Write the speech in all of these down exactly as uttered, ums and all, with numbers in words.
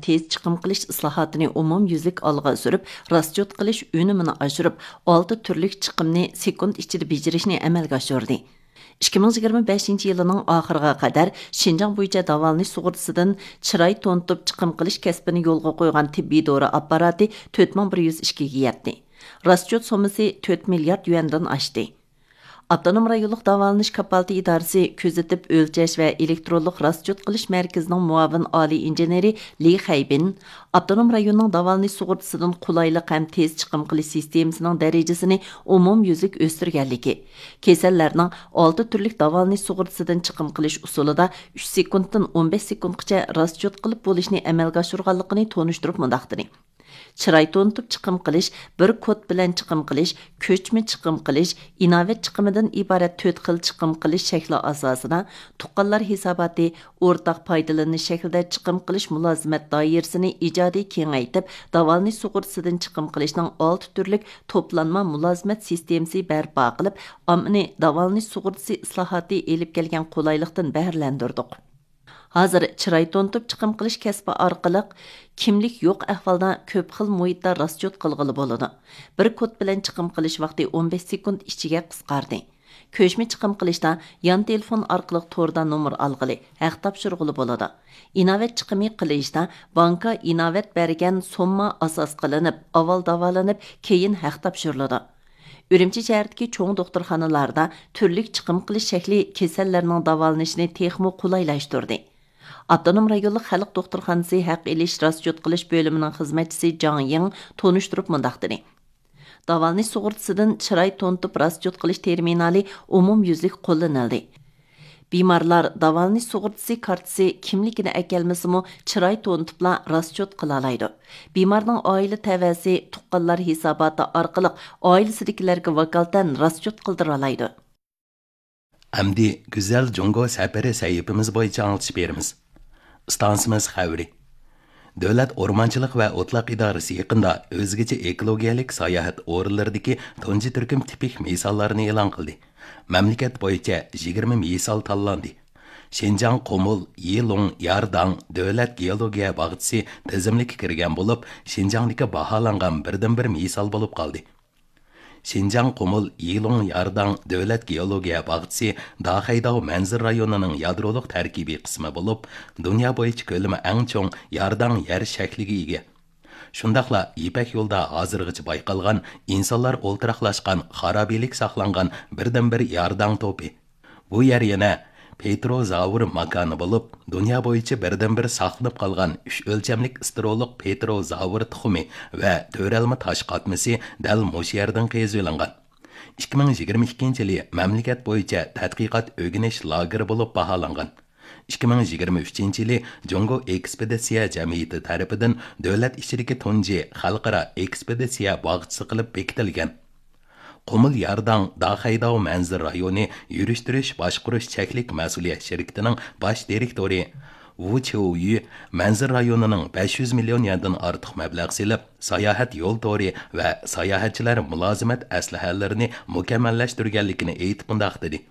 تېز چىقىم قىلىش ئىسلاھاتىنى ئومۇميۈزلۈك ئالغا سۈرۈپ، راسچوت قىلىش ئۈنۈمىنى ئاشۇرۇپ، ئالتە تۈرلۈك چىقىمنى سېكۇنت ئىچىدە بېجىرىشنى ئەمەلگە ئاشۇردى. ئىككى مىڭ يىگىرمە بەشىنچى يىلىنىڭ ئاخىرىغا قەدەر شىنجاڭ بويىچە داۋالىنىش سۇغۇرتىسىدىن چىراي تونۇتۇپ چىقىم قىلىش كەسپىنى يولغا قويغان تېببىي دورا ئاپپاراتى تۆت مىڭ بىر يۈز ئىككىگە يەتتى. راسچوت سوممىسى تۆت مىليارد يۈەندىن ئاشتى. ئاپتونوم رايونلۇق داۋالىنىش كاپالىتى ئىدارىسى كۆزىتىپ ئۆلچەش ۋە ئېلېكترونلۇق راسچوت قىلىش مەركىزىنىڭ مۇئاۋىن ئالىي ئىنژېنېرى لى خەيبىن ئاپتونوم رايوننىڭ داۋالىنىش سۇغۇرتىسىدىن قولايلىق ھەم تېز چىقىم قىلىش سىستېمىسىنىڭ دەرىجىسىنى ئومۇميۈزلۈك ئۆستۈرگەنلىكى، كېسەللەرنىڭ ئالتە تۈرلۈك داۋالىنىش سۇغۇرتىسىدىن چىقىم قىلىش ئۇسۇلىدا ئۈچ سېكۇنتتىن ئون بەش سېكۇنتقىچە راسچوت قىلىپ بولۇشنى ئەمەلگە ئاشۇرغانلىقىنى تونۇشتۇرۇپ مۇنداق دېدى. چىراي تونۇتۇپ چىقىم قىلىش، بىر كود بىلەن چىقىم قىلىش، كۆچمە چىقىم قىلىش، ئىناۋەت چىقىمىدىن ئىبارەت تۆت خىل چىقىم قىلىش شەكلى ئاساسىدا، تۇغقانلار ھېساباتى، ئورتاق پايدىلىنىش شەكلىدە چىقىم قىلىش مۇلازىمەت دائىرىسىنى ئىجادىي كېڭەيتىپ، داۋالىنىش سۇغۇرتىسىدىن چىقىم قىلىشنىڭ ئالتە تۈرلۈك توپلانما مۇلازىمەت سىستېمىسى بەرپا قىلىپ، ئاممىنى داۋالىنىش سۇغۇرتىسى ئىسلاھاتى ئېلىپ كەلگەن قولايلىقتىن بەھرىلەندۈردۇق. ھازىر چىراي تونۇتۇپ چىقىم قىلىش كەسپى ئارقىلىق كىملىك يوق ئەھۋالدا كۆپ خىل مۇھىتتا راسچوت قىلغىلى بولىدۇ. بىر كود بىلەن چىقىم قىلىش ۋاقتى ئون بەش سېكۇنت ئىچىگە قىسقاردى. كۆچمە چىقىم قىلىشتا يان تېلېفون ئارقىلىق توردا نومۇر ئالغىلى، ھەق تاپشۇرغىلى بولىدۇ. ئىناۋەت چىقىمى قىلىشتا بانكا ئىناۋەت بەرگەن سومما ئاساس قىلىنىپ، ئاۋۋال داۋالىنىپ، كېيىن ھەق تاپشۇرۇلىدۇ. ئۈرۈمچى شەھىرىدىكى چوڭ دوختۇرخانىلاردا تۈرلۈك چىقىم قىلىش شەكلى كېسەللەرنىڭ داۋالىنىشىنى تېخىمۇ قولايلاشتۇردى. ئاپتونوم رايونلۇق خەلق دوختۇرخانىسى ھەق ئېلىش راسچوت قىلىش بۆلۈمىنىڭ خىزمەتچىسى جاڭ يىڭ تونۇشتۇرۇپ مۇنداق دېدى: داۋالىنىش سۇغۇرتىسىدىن چىراي تونۇتۇپ راسچوت قىلىش تېرمىنالى ئومۇميۈزلۈك قوللىنىلدى. بىمارلار داۋالىنىش سۇغۇرتىسى كارتىسى كىملىكىنى ئەكەلمىسىمۇ، چىراي تونۇتۇپلا راسچوت قىلالايدۇ. بىمارنىڭ ئائىلە تەۋەسى تۇغقانلار ھېساباتى ئارقىلىق ئائىلىسىدىكىلەرگە ۋاكالىتەن راسچوت قىلدۇرالايدۇ. ئەمدى گۈزەل جۇڭگو سەپىرى سەھىپىمىز بويىچە ئاڭلىتىش بېرىمىز. ئىستانسىمىز خەۋىرى. دۆلەت ئورمانچىلىق ۋە ئوتلاق ئىدارىسى يېقىندا ئۆزگىچە ئېكولوگىيەلىك ساياھەت ئورۇنلىرىدىكى تۇنجى تۈركۈم تىپىك مىساللارنى ئېلان قىلدى. مەملىكەت بويىچە يىگىرمە مىسال تاللاندى. شىنجاڭ قۇمۇل يىلۇڭ يارداڭ دۆلەت گېئولوگىيە باغچىسى تىزىملىككە كىرگەن بولۇپ، شىنجاڭدىكى باھالانغان بىردىنبىر مىسال بولۇپ قالدى. شىنجاڭ قۇمۇل يىلۇڭ يارداڭ دۆلەت گېئولوگىيە باغچىسى داخەيداۋ مەنزىرە رايونىنىڭ يادرولۇق تەركىبىي قىسمى بولۇپ، دۇنيا بويىچە كۆلىمى ئەڭ چوڭ يارداڭ يەر شەكلىگە ئىگە. شۇنداقلا يىپەك يولىدا ھازىرغىچە بايقالغان ئىنسانلار ئولتۇراقلاشقان خارابىلىك ساقلانغان بىردىنبىر يارداڭ توپى. بۇ يەر يەنە پېتروزاۋر ماكانى بولۇپ، دۇنيا بويىچە بىردىنبىر ساقلىنىپ قالغان ئۈچ ئۆلچەملىك ئىستېرولۇق پېتروزاۋر تۇخۇمى ۋە تۆرەلمە تاش قاتمىسى دەل مۇشۇ يەردىن قېزىۋېلىنغان. ئىككى مىڭ يىگىرمە ئىككىنچى يىلى مەملىكەت بويىچە تەتقىقات ئۆگىنىش لاگېرى بولۇپ باھالانغان. ئىككى مىڭ يىگىرمە ئۈچىنچى يىلى جۇڭگو ئېكسپېدىتسىيە جەمئىيىتى تەرىپىدىن دۆلەت ئىچىدىكى تۇنجى خەلقئارا ئېكسپېدىتسىيە باغچىسى قىلىپ بېكىتىلگەن. قۇمۇل يارداڭ داخەيداۋ مەنزىرە رايونى يۈرۈشتۈرۈش باشقۇرۇش چەكلىك مەسئۇلىيەت شىركىتىنىڭ باش دىرېكتورى ۋۇ چيۇيۈ مەنزىرە رايونىنىڭ بەش يۈز مىليون يەندىن ئارتۇق مەبلەغ سېلىپ، ساياھەت يول تورى ۋە ساياھەتچىلەر مۇلازىمەت ئەسلىھەلىرىنى مۇكەممەللەشتۈرگەنلىكىنى ئېيتىپ مۇنداق دېدى: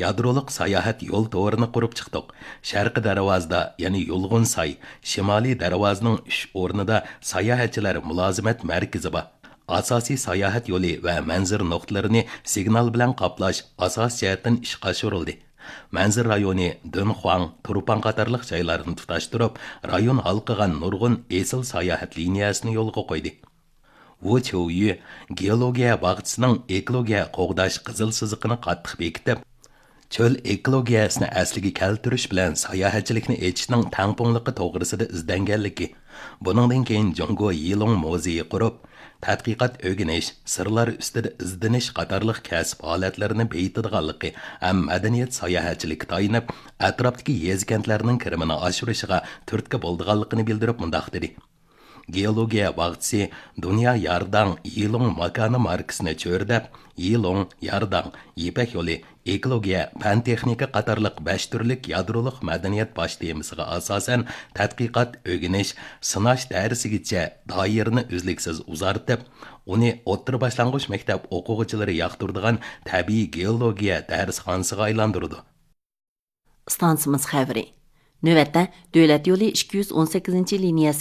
يادرولۇق ساياھەت يول تورىنى قۇرۇپ چىقتۇق. شەرقىي دەرۋازىدا، يەنى يۇلغۇنساي، شىمالىي دەرۋازىنىڭ ئۈچ ئورنىدا ساياھەتچىلەر مۇلازىمەت مەركىزى بار. ئاساسىي ساياھەت يولى ۋە مەنزىرە نۇقتىلىرىنى سىگنال بىلەن قاپلاش ئاساسىي جەھەتتىن ئىشقا ئاشۇرۇلدى. مەنزىرە رايونى دۇنخۇاڭ، تۇرپان قاتارلىق جايلارنى تۇتاشتۇرۇپ، رايون ھالقىغان نۇرغۇن ئېسىل ساياھەت لىنىيەسىنى يولغا قويدى. ۋۇ چيۇيۈ گېئولوگىيە باغچىسىنىڭ ئېكولوگىيە قوغداش قىزىل سىزىقىنى قاتتىق بېكىتىپ، چۆل ئېكولوگىيەسىنى ئەسلىگە كەلتۈرۈش بىلەن ساياھەتچىلىكنى ئېچىشنىڭ تەڭپۇڭلۇقى توغرىسىدا ئىزدەنگەنلىكى، بۇنىڭدىن كېيىن جۇڭگو يىلۇڭ مۇزېيى قۇرۇپ، تەتقىقات ئۆگىنىش، سىرلار ئۈستىدە ئىزدىنىش قاتارلىق كەسىپ ھالەتلىرىنى بېيىتىدىغانلىقى ھەم مەدەنىيەت ساياھەتچىلىككە تايىنىپ، ئەتراپتىكى يېزا-كەنتلەرنىڭ كىرىمىنى ئاشۇرۇشىغا تۈرتكە بولىدىغانلىقىنى بىلدۈرۈپ مۇنداق دېدى: گېئولوگىيە باغچىسى دۇنيا يارداڭ يىلۇڭ ماكانى ماركىسىنى چۆرىدەپ، يىلۇڭ، يارداڭ، يىپەك يولى، ئېكولوگىيە، پەن تېخنىكا قاتارلىق بەش تۈرلۈك يادرولۇق مەدەنىيەت باش تېمىسىغا ئاساسەن تەتقىقات، ئۆگىنىش، سىناش دەرسىگىچە دائىرىنى ئۈزلۈكسىز ئۇزارتىپ، ئۇنى ئوتتۇرا باشلانغۇچ مەكتەپ ئوقۇغۇچىلىرى ياقتۇرىدىغان تەبىئىي گېئولوگىيە دەرسخانىسىغا ئايلاندۇرىدۇ. ئىستانسىمىز خەۋىرى. نۆۋەتتە، دۆلەت يولى ئىككى يۈز ئون سەككىزىنچى لىنىيەسى